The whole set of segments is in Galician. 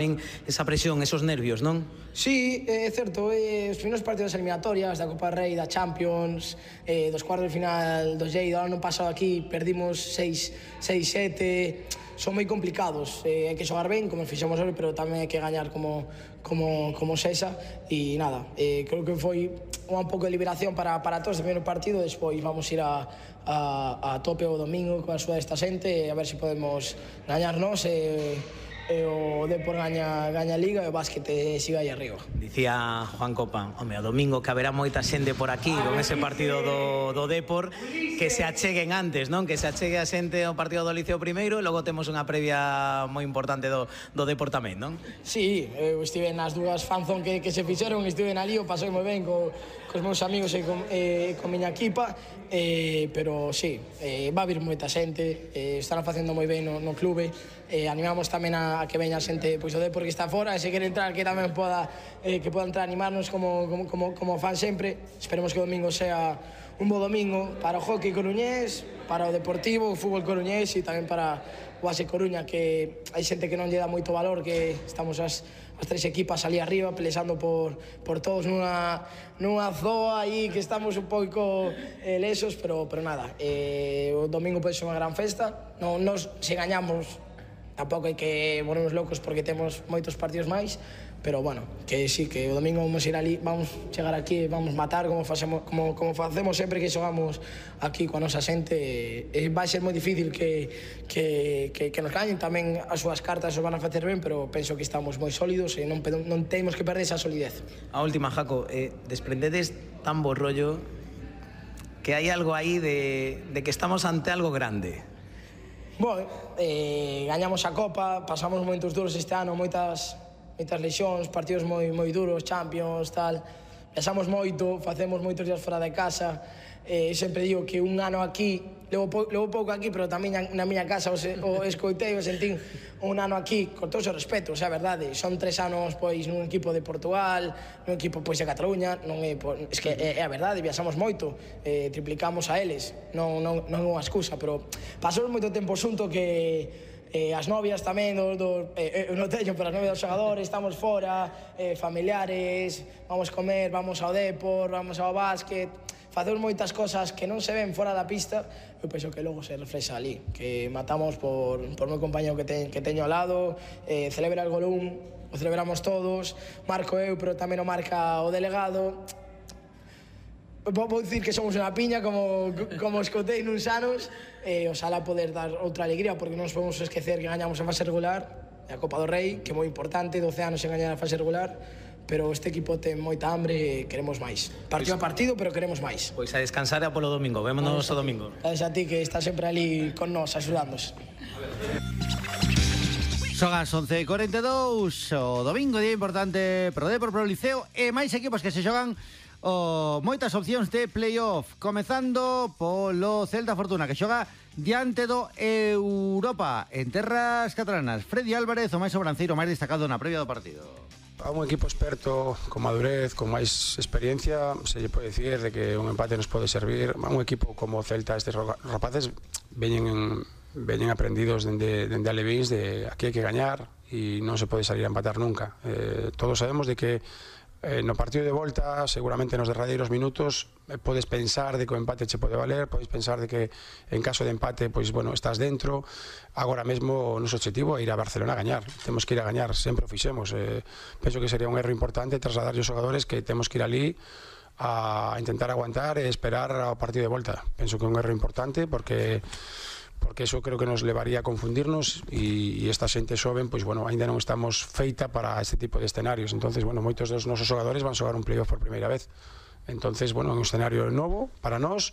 esa presión, esos nervios, non? Sí, é certo, os primeiros partidos eliminatorias da Copa Rei, da Champions, dos cuartos de final do Lleida, ano pasado aquí perdimos 6-7, son moi complicados, hai que xogar ben, como fixemos hoxe, pero tamén hai que gañar como sexa, e nada, creo que foi un pouco de liberación para todos o primeiro partido, despois vamos ir a tope o domingo coa axuda desta xente, a ver se podemos gañarnos o Depor gaña a Liga e o básquet siga aí arriba. Dicía Juan Copa, home, o domingo que haberá moita xente por aquí con ese partido do Depor, que se acheguen antes, non? Que se achegue a xente ao partido do Liceo primeiro e logo temos unha previa moi importante do Depor tamén, non? Sí, eu estive nas dúas fanzón que se fixeron, estive na Lío, pasei moi ben cos meus amigos e con miña equipa, pero sí, va a vir moita xente, están facendo moi ben no clube, animamos tamén a que veña a xente pois o Depor que está fora, e se quere entrar que tamén poda entrar a animarnos como fan sempre. Esperemos que o domingo sea un bo domingo para o hockey coruñés, para o Deportivo, o fútbol coruñés e tamén para o ASE Coruña, que hai xente que non lle dá moito valor, que estamos as tres equipas ali arriba pelexando por todos nunha zoa aí que estamos un pouco lesos, pero nada, o domingo pode ser unha gran festa. Nos, se gañamos, tampouco hai que volvernos locos porque temos moitos partidos máis, pero bueno, que sí, que o domingo vamos ir ali, vamos chegar aquí, vamos matar como facemos sempre que xogamos aquí coa nosa xente. Vai ser moi difícil que nos gañen, tamén as súas cartas os van a facer ben, pero penso que estamos moi sólidos e non temos que perder esa solidez. A última, Jaco, desprendedes tan bo rollo que hai algo aí de que estamos ante algo grande. Bueno, gañamos a Copa, pasamos momentos duros este ano, moitas lesións, partidos moi duros, Champions, tal. Viaxamos moito, facemos moitos días fora de casa. Sempre digo que un ano aquí, levo pouco aquí, pero tamén na miña casa o escoitei, o sentín un ano aquí, con todos os respetos, é a verdade. Son 3 anos pois nun equipo de Portugal, nun equipo pois de Cataluña, non é que é a verdade, viaxamos moito, triplicamos a eles, non é unha excusa, pero pasamos moito tempo xunto que as novias tamén non teño, pero as novias dos xogadores, estamos fora, familiares, vamos comer, vamos ao Depor, vamos ao básquet, facemos moitas cosas que non se ven fora da pista. Eu penso que logo se reflexa ali, que matamos por meu compañero que teño ao lado, celebra el golún, o celebramos todos, marco eu, pero tamén o marca o delegado. Vou dicir que somos unha piña como escotei nuns anos, oxalá poder dar outra alegría, porque non nos podemos esquecer que gañamos a fase regular, a Copa do Rei, que é moi importante, 12 anos sen gañar a fase regular, pero este equipo ten moita hambre e queremos máis. Partido a partido, pero queremos máis. Pois a descansar e a polo domingo, vémonos o domingo. Gracias a ti, que estás sempre ali con nós, axudándonos. Son as 11:42, o domingo, día importante pro Depor, pro Liceo, e máis equipos que se xogan moitas opcións de playoff, comezando polo Celta Fortuna, que xoga diante do Europa en terras catalanas. Freddy Álvarez, o máis sobranceiro, máis destacado na previa do partido. A un equipo experto, con madurez, con máis experiencia, se lle pode dicir de que un empate nos pode servir. A un equipo como Celta, estes rapaces veñen aprendidos dende Alevíns, de aquí hai que gañar e non se pode salir a empatar nunca. Todos sabemos de que no partido de volta, seguramente nos derradeiros minutos, podes pensar de que o empate che pode valer, podes pensar de que en caso de empate, pois, bueno, estás dentro. Agora mesmo o noso objetivo é ir a Barcelona a gañar, temos que ir a gañar, sempre o fixemos. Penso que sería un erro importante trasladar aos xogadores que temos que ir ali a intentar aguantar e esperar ao partido de volta. Penso que é un erro importante porque eso creo que nos levaría a confundirnos e esta xente xoven, pois, bueno, ainda non estamos feita para este tipo de escenarios. Entonces, bueno, moitos dos nosos xogadores van xogar un playoff por primeira vez. Entonces, bueno, é un escenario novo para nós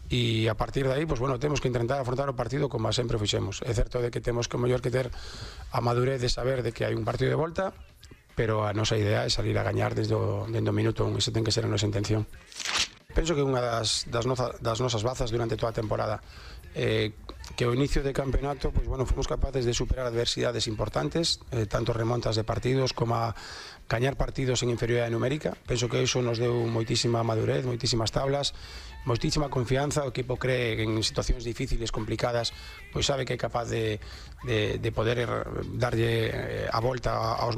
e a partir de aí, pois, bueno, temos que intentar afrontar o partido como sempre o fixemos. É certo de que temos que mellor que ter a madurez de saber de que hai un partido de volta, pero a nosa idea é salir a gañar desde o minuto 1, esa ten que ser a nosa intención. Penso que unha das nosas bazas durante toda a temporada que ao inicio de campeonato pues, bueno, fomos capaces de superar adversidades importantes, tanto remontas de partidos como a gañar partidos en inferioridade numérica. Penso que iso nos deu moitísima madurez, moitísimas tablas, moitísima confianza. O equipo cree que en situacións difíciles, complicadas, pois sabe que é capaz de poder darlle a volta aos